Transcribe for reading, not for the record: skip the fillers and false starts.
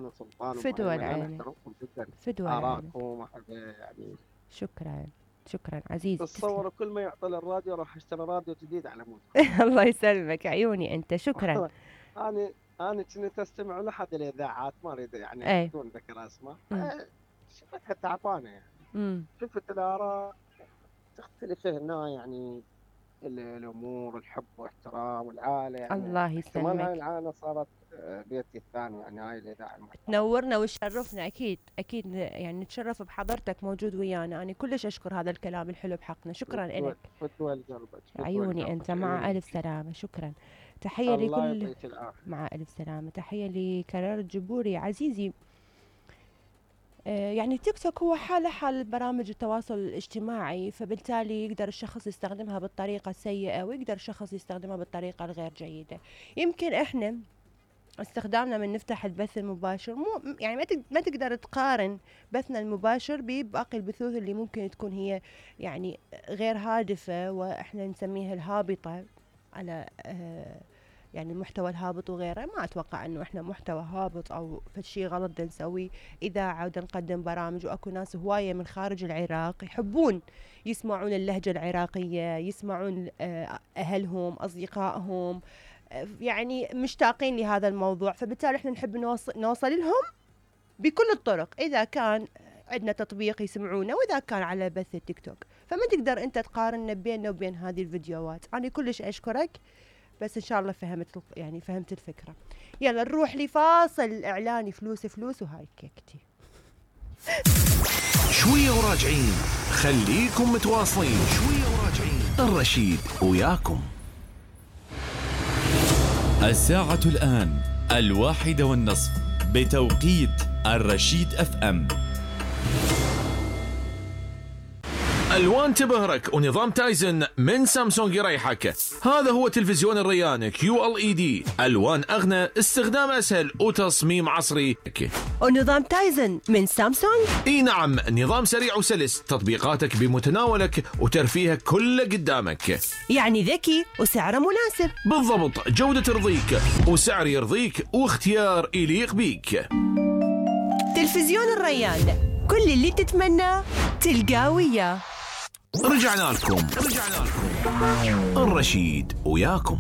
انا سلطان فدوى انا العين، احترمكم جدا، فدوى العين. ارائكم يعني. شكرا شكرا عزيزي. تتصور كل ما يعطي الراديو راح اشتري راديو جديد على مود. الله يسلمك عيوني انت، شكرا. انا كنت استمع لاحد الاذاعات، ما اريد يعني اي بدون ذكر اسماء، شفتها تعبانه يعني. امم شفت الاراء تختلف هنا يعني، الامور، الحب واحترام والعائله يعني. الله احتمال هاي يسلمك، العائله صارت بيتي الثاني يعني، هاي الاذاعه المحترمه. تنورنا وتشرفنا، اكيد اكيد يعني نتشرف بحضرتك موجود ويانا. انا كلش اشكر هذا الكلام الحلو بحقنا، شكرا لك. فتوى لقلبك، عيوني انت، مع الف سلامه، شكرا. تحيه الله لكل، يعطيك العافيه. مع الف سلامه. تحيه لكرار الجبوري عزيزي. يعني تيك توك هو حال برامج التواصل الاجتماعي، فبالتالي يقدر الشخص يستخدمها بالطريقة السيئة ويقدر الشخص يستخدمها بالطريقة الغير جيدة. يمكن احنا استخدامنا من نفتح البث المباشر مو يعني ما تقدر تقارن بثنا المباشر بباقي البثوث اللي ممكن تكون هي يعني غير هادفة، واحنا نسميها الهابطة على يعني المحتوى الهابط وغيره. ما اتوقع انه احنا محتوى هابط او فشي غلط نسوي. اذاعه نقدم برامج، واكو ناس هوايه من خارج العراق يحبون يسمعون اللهجه العراقيه، يسمعون اهلهم اصدقائهم يعني مشتاقين لهذا الموضوع، فبالتالي احنا نحب نوصل لهم بكل الطرق، اذا كان عندنا تطبيق يسمعونه واذا كان على بث التيك توك. فما تقدر انت تقارن بيننا وبين هذه الفيديوهات. انا كلش اشكرك، بس ان شاء الله فهمت الفكره. يلا نروح لفاصل اعلاني. فلوس وهاي كيكتي. شويه وراجعين، خليكم متواصلين. شويه وراجعين، الرشيد وياكم. الساعة الآن 1:30 بتوقيت الرشيد FM. الوان تبهرك ونظام تايزن من سامسونج يريحك. هذا هو تلفزيون الريان QLED، الوان اغنى، استخدام اسهل وتصميم عصري. ونظام تايزن من سامسونج، اي نعم، نظام سريع وسلس، تطبيقاتك بمتناولك وترفيهك كله قدامك، يعني ذكي وسعره مناسب. بالضبط، جودة ترضيك وسعر يرضيك واختيار يليق بيك. تلفزيون الريان، كل اللي تتمناه تلقاه وياه. رجعنا لكم الرشيد وياكم.